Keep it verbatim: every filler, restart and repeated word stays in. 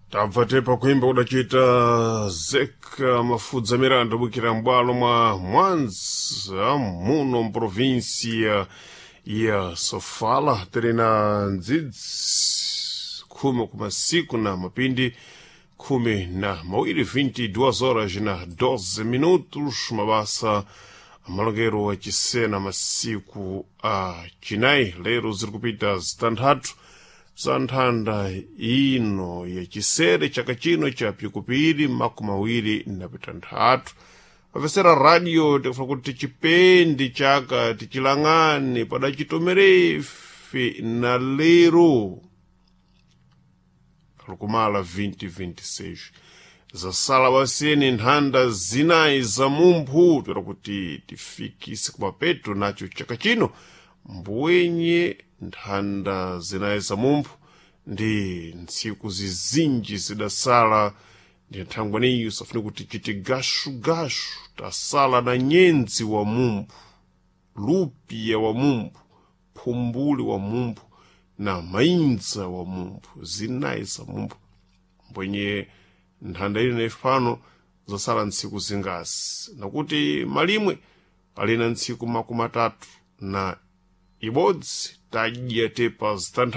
Tabva tepa kuimba kudachita Zeka Mafudza Miranda bukira m'bwalo mwa Mwanza muno mprovinsia ya Sofala tiri na ndzidzi khumi kumasiku na mapindi khumi na mawiri vinte e duas horas na doze minutos, mabasa amalongero achisena masiku a chinayi. Lero ziri kupita zitanthatu za nthanda ino yachisere chaka chino cha pikupiri makumi awiri na pitanthatu. Pamvesera radio, tikufuna kuti tichipendi chaka, tichilang'ane padachitomerefe na lero lukumala twenty twenty-six. Zasala baseni nthanda zinayi za mumphu toera kuti tifikise kumapeto nacho chaka chino. Mbwenye nthanda zinayi za mumphu ndi ntsiku zizinji zidasala, ndi nthangwaniyo safune kuti chiti gashugashu. Tasala na nyenzi wa mumphu, lupiya wa mumphu, phumbuli wa mumphu na mainza wa mumphu, zinayi za mumphu. Mbwenye nthanda ili naifano zasala ntsiku zingasi, nakuti malimwe alina ntsiku makumi atatu na ibodzi, tadya tepa zitantha.